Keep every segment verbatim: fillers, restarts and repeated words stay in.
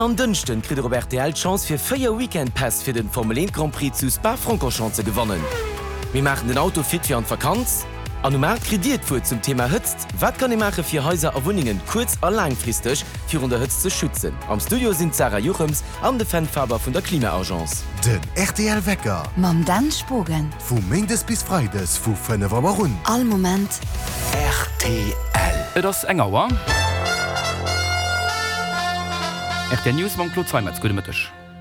En Dënschden kritt der op rtl d'Chance fir véier Weekend-Päss fir den Formel eent Grand Prix zu Spa-Francorchamps ze gewannen. Mir maachen den Auto fit fir an d'Vakanz an um aacht kritt dir d'Wuert zum Thema Hëtzt. Wat kann ee maache fir Haiser a Wunnengen kuerz a laangfristeg virun der Hëtzt ze schützen? Am Studio sinn d'Sarah Juchems an de Fenn Faber vun der Klima-Agence. Den rtl Wecker. Mam Dan Spogen. Vu Méindes bis Freides vu fënnef Auer un. All Moment. Rtl. Et ass eng Auer. Rtl News mam Claude Zeimetz. Gudde Mëtteg.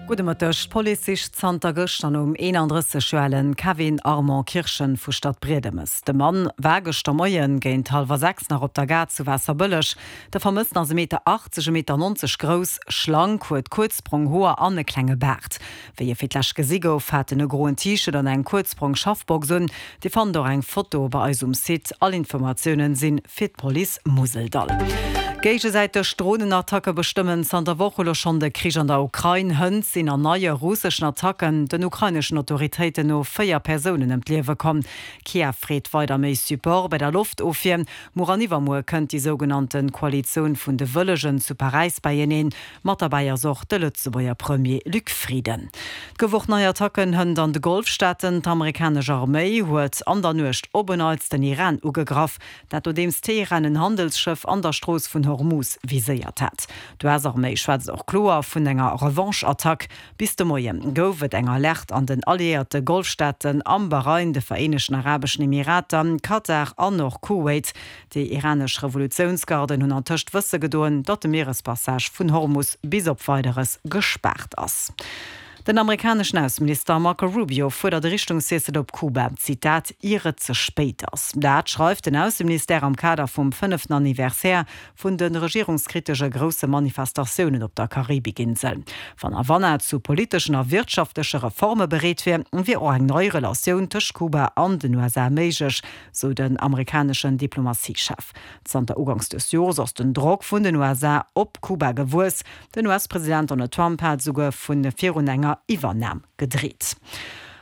Gudde Mëtteg. D'Police sicht zanter gëschter nom eenandrësseg Joer ale Kevin Armand Kirchen vu Stadbriedemes. De Mann war gëschter Moien géint hallwer sechs nach op der Gare zu Waasserbëlleg. De Vermëssten ass e Meter achtzeg, e Meter nonzeg grouss, schlank, huet kuerz brong Hoer an e klenge Baart. Wéi e fir d'lescht gesi gouf, hat en e groen T-Shirt an eng kuerz brong Schaffbox un. Dir fannt och eng Foto bei eis um Site. All Informatiounen sinn fir d'Police Museldall. Géigesäiteg Dronenattacke bestëmmen zanter Woche elo schonn de Krich an der Ukrain. Hënt sinn an neie russeschen Attacken den ukraineschen Autoritéiten no véier Persounen ëm d'Liewe komm. Kiew freet weider méi Support bei der Loftofwier. Muer an iwwermuer kënnt déi sougenannte Koalitioun vun de Wëllegen zu Paräis beieneen. Mat derbäi ass och de Lëtzebuerger Premier Luc Frieden. Et gouf och nei Attacken hënt an de Golfstaaten. D'amerikanesch Arméi huet an der Nuecht op en Neits den Iran ugegraff. Dat nodeems Teheran en Handelsschëff an der Strooss vun Hormuz viséiert hat. D'U S-Arméi schwätzt och kloer vun enger Revanche-Attack. Bis de Moie gouf et eng Alerte an den alliéierte Golfstaaten, am Bahrain, de Vereenegten Arabeschen Emirater, Katar an och Kuwait. Déi iranesch Revolutiounsgarden hunn antëscht wësse gedoen, datt de Mierespassage vun Hormus bis op Weideres gespaart ass. Den amerikaneschen Ausseminister Marco Rubio fuerdert e Richtungswiessel op Kuba, Zitat, ier et ze spéit ass. Dat schreift den Ausseministère am Kader vum fënneften Anniversaire vun de regierungskritesche grousse Manifestatiounen op der Karibikinsel. Wann Havanna zu politeschen a wirtschaftleche Reforme bereet wier, wier och eng nei Relatioun tëscht Kuba an den U S A méiglech, sou den amerikaneschen Diplomatiechef. Zanter uganks des Jores ass den Drock vun den U S A op Kuba gewuess. Den U S-President Donald Trump hat esouguer vu virun enger Iwwernam gedreet.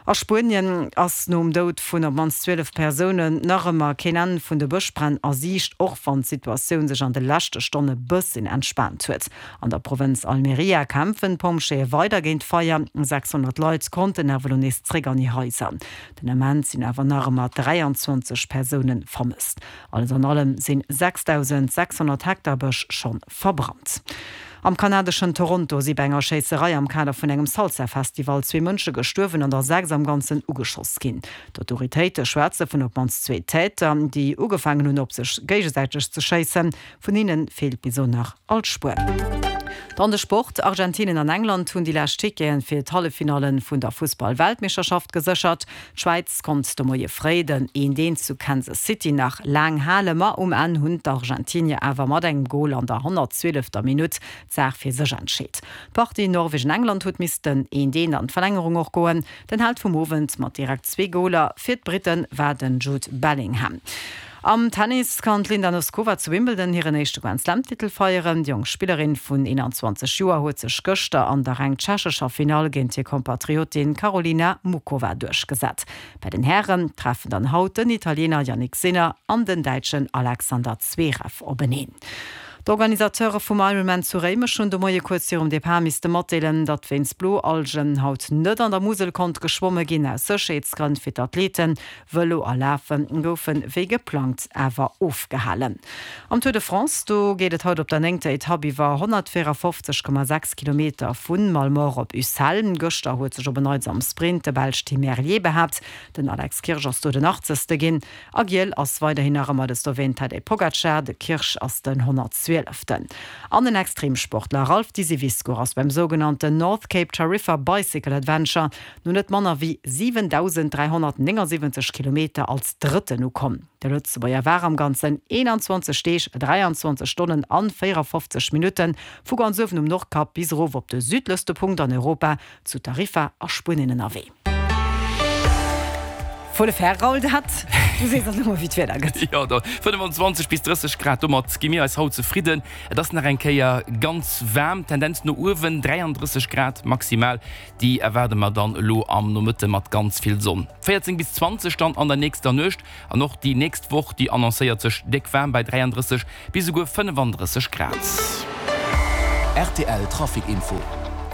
A Spuenien ass nom Doud vun op d'mannst zwielef Persounen nach ëmmer keen Enn vun de Bëschbränn a Siicht, och wann d'Situatioun sech an de leschte Stonne bësschen entspaant huet. An der Provënz Almeria kämpfen d'Pompjeeë weider géint d'Feier. sechshonnert Leit konnten awer elo nees zréck an hir Haiser. Den Ament sinn awer nach ëmmer dräianzwanzeg Persoune vermësst. Alles an allem sinn sechsdausendsechshonnert Hektar Bësch schonn verbrannt. Am kanadeschen Toronto si bei enger Schéisserei am Kader vun engem Salsa-Festival zwee Mënsche gestuerwen an der sechs am Ganzen ugeschoss ginn. D'Autoritéite schwätze vun op d'mannst zwee Täter, déi ugefaangen hunn op sech géigesäiteg ze schéissen. Vun hinne feelt bis elo nach all Spuer. Dann de Sport, Argentinien an England hunn déi lescht Ticketen fir d'Halleffinallen vun der Fussball-Weltmeeschterschaft geséchert. D'Schwäiz konnt de Moie fréi den eent eent zu Kansas City nach laang halen, ma um Enn hunn d'Argentinier awer mat engem Gol an der honnertzwielefter Minutt d'Saach fir sech entscheet. D'Partie Norwegen-England huet missten eent eent an d'Verlängerung och goen. Den Held vum Owend mat direkt zwee Goler fir d'Britten war den Jude Bellingham. Am Tennis kann d'Linda Noskova zu Wimbledon hiren éischte Grand-Slam-Titel feieren. Déi jonk Spillerin vun eenanzwanzeg Joer huet sech gëschter an der reng tschechescher Finall géint hir Kompatriotin Karolina Muchova duerchgesat. Bei den Hären treffen dann haut den Italiener Jannik Sinner an den Däitschen Alexander Zverev openeen. D'Organisateure vum Ironman zu Réimech hunn de Moie kuerz virum Depart misste matdeelen, datt wéinst Bloalgen haut net an der Musel konnt geschwomme ginn. Aus Sécherheetsgrënn fir d'Athleten. Vëlo a Lafe goufe wéi geplangt awer ofgehalen. Am Tour de France, do geet et haut op der néngter Etapp iwwer honnertvéierafofzeg Komma sechs Kilometer vu Malemort op Ussel. Gëschter huet sech op en Neits am Sprint de Belsch Tim Merlier behaapt. Den Alex Kirsch ass do den achtzegste ginn. A giel ass weiderhin nach ëmmer de Sloween Tadej Pogacar, de Kirsch ass den honnertzwieleften. An den Extremsportler Ralph Disiviscour ass beim sougenannten North Cape Tarifa Bicycle Adventure no net manner wéi siwendausenddräihonnertnéngasiwwenzeg Kilometer als Drëtten ukomm. De Lëtzebuerger war am Ganzen eenanzwanzeg Deeg, dräianzwanzeg Stonnen an véierafofzeg Minutten vu ganz uewen um Nordkap bis erof op de südlechste Punkt an Europa zu Tarifa a Spuenien ënnerwee. Volle Fer, Raoul, dat du sees dann ëmmer wéi d'Wieder gëtt. Jo, do fënnefenzwanzeg bis drësseg Grad, domat gi mir eis haut zefridden. Et ass nach eng Kéier ganz waarm, Tendenz no uewen, dräiandrësseg Grad maximal, déi erwaarde mer dann elo am Nomëtte mat ganz vill Sonn. véierzéng bis zwanzeg dann an der nächster Nuecht an och déi nächst Woch, déi annoncéiert sech déck waarm bei dräiandrësseg bis esouguer fënnefandrësseg Grad. Rtl Trafic Info.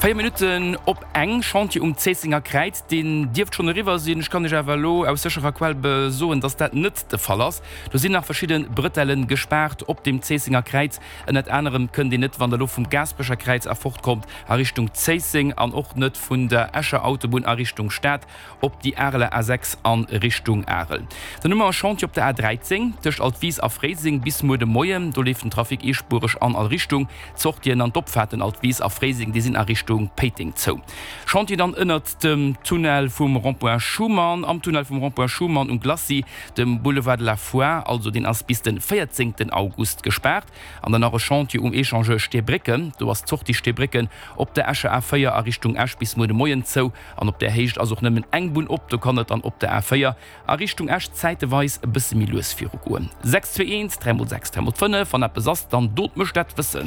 Véier Minutten op eng, Chantier um Zéissenger Kräiz, deen dierft schonn eriwwer sinn. Ech kann Iech awer elo aus sécherer Quell soen, dass dat net de Fall ass. Do sinn nach verschidde Brëtellen gespaart op dem Zéissenger Kräiz. Ënnert anerem kënnt een net, wann Der elo vum Gaasperecher Kräiz erfortkommt a Richtung Zéisseng an och net vun der Escher Autobunn a Richtung Stad op déi Areler A sechs a Richtung Arel. Dann hu mer e Chantier op der A dräizéng tëscht Altwis a Fréiseng bis muer de Moien. Do leeft den Trafic eespuereg an all Richtung. D'Sortien an d'Opfaarten Altwis a Fréiseng, déi sinn a Richtung Péiteng zou. Chantier dann ënnert dem Tunnel vum Rond-point Schuman, am Tunnel vum Rond-point Schuman um Glacis, dem Boulevard de la Foire, also deen ass bis de véierzéngten August gespaart. An dann nach e Chantier um Echangeur Steebrécken, do ass d'Sortie Steebrécken op der Escher A véier a Richtung Esch bis muer de Moien zou an op där Héicht ass och nëmmen eng Bunn op. Do kann et dann op der A véier a Richtung Esch zäiteweis e bësse méi lues virugoen. Sechs zwee eent, dräi mol sechs, dräi mol fënnef, wann eppes ass, dann dot mech dat wëssen.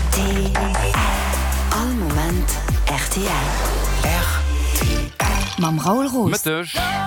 Rtl, All Moment rtl. Rtl. Mam Raoul Roos. Mëtteg.